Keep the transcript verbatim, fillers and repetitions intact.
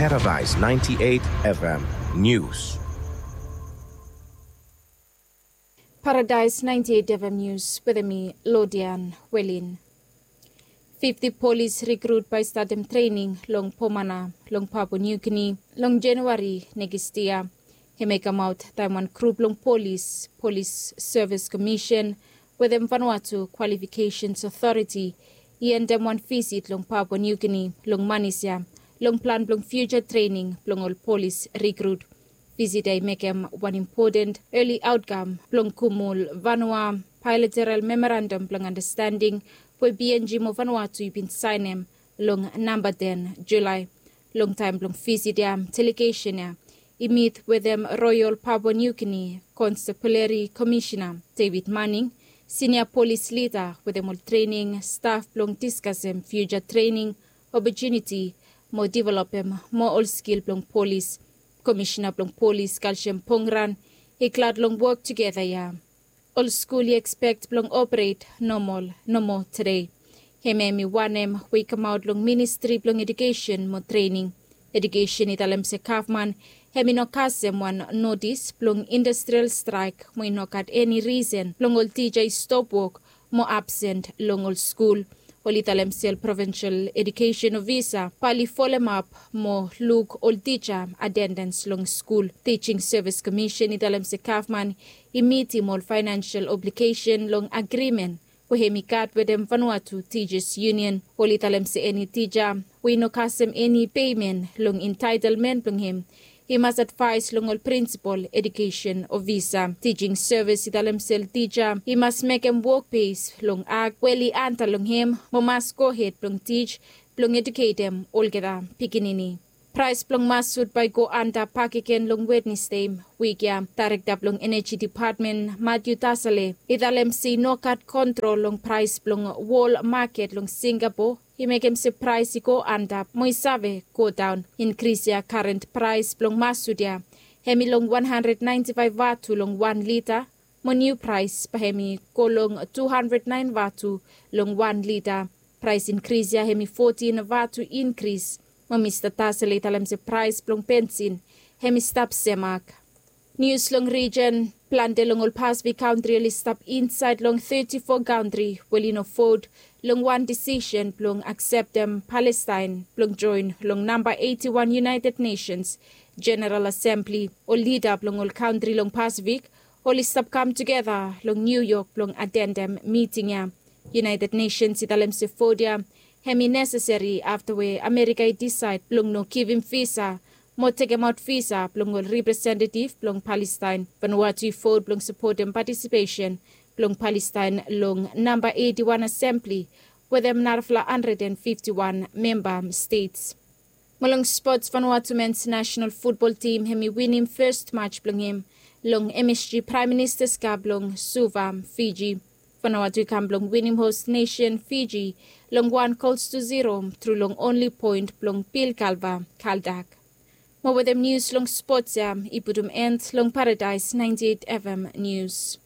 Paradise ninety-eight F M News. Paradise ninety-eight F M News wetem mi, Lodian Welin. Fifti polis rikrut bae i statem trening long Pomana long Papua New Guinea long January nekis yia. Hem i kamaot taem wan grup long polis, Polis Sevis Komisen wetem Vanuatu Kwalifikesens Otoriti i endem wan visit long Papua New Guinea long manis ya long plan blong fiuja trening blong ol polis rikrut. Visit ya i mekem wan impoten eli aotkam blong Kumul Vanua Baelateral Memorandam blong Andastending we P N G mo Vanuatu i bin saenem long namba ten Julae. Long taem blong visit ya, delegesen ya i mit wetem Royal Papua New Guinea Constabulary Komisena David Manning, sinia polis lida wetem ol trening staf blong diskasem fiuja trening opotuniti mo developem moa ol skil blong polis. Komisena blong polis Kalsiam Pongran i glad long wok tugeta ya. Ol skul i ekspek blong operet nomol nomo tede. Hemia hemi wanem we i kamaot long Ministri blong Ejukesen mo Trening. Ejukesen i talem se gavman hemi no kasem wan notis blong industrial straek mo i no gat eni risen blong ol tija i stop wok mo absen long ol skul. Oli talem se ol provinsel ejukesen ofisa bae oli folemap mo luk ol tija atendens long skul. Tijing Sevis Komisen i talem se gavman i mitim ol faenensel obligesen long agrimen we hemi gat wetem Vanuatu Tijas Yunion. Oli talem se eni tija we i no kasem eni pemen long entaetelmen blong hem i mas advaes long ol prinsipol ejukesen ofisa. Tijing Sevis i talem se ol tija i mas mekem wok bes long ak we oli anta long hem mo mas gohed blong tij blong ejuketem olgeta pikinini. Praes blong masut bae i go anta bakegen long Wednesde wik ya. Daerekta blong Eneji Depatmen Matthew Tasale i talem se i no gat kontrol long praes blong wol maket long Singapore i mekem se praes i go antap mo i save godaon. Inkris ya, karen praes blong masut ya hemi long wan handred naenti faef vatu long wan lita, mo niu praes bae hemi go long tu handred naen vatu long wan lita. Praes inkris ya hemi fotin vatu inkris. Mo Mista Tasale i talem se praes blong bensin hemi stap semak. Nius long rijen. Plante long ol Pasifik kantri oli stap insaed long teti fo kantri we oli no vot long wan disisen blong akseptem Palestaen blong joen long namba eiti wan United Nations Jeneral Asembli. Ol lida blong ol kantri long Pasifik oli stap kam tugeta long Niu Yok blong atendem miting ya. United Nations i talem se vot ya hemi nesesari afta we Amerika i disaed blong no givim visa mo tekemaot visa blong ol representetiv blong Palestaen. Vanuatu i vot blong sapotem patisipesen blong Palestaen long namba eiti wan Asembli wetem narafala handred and fifti wan memba stets. Mo long spots, Vanuatu mens nasenal futbol tim hemi winim fes maj blong hem long M S G Praem Ministas Kap long Suva, Fiji. Vanuatu i kam blong winim hos nesen Fiji long wan gols tu ziro tru long onli poen blong Bill Galva Kaldak. Mo wetem nius long spots ya i putum en long Paradaes naenti eit F M Nius.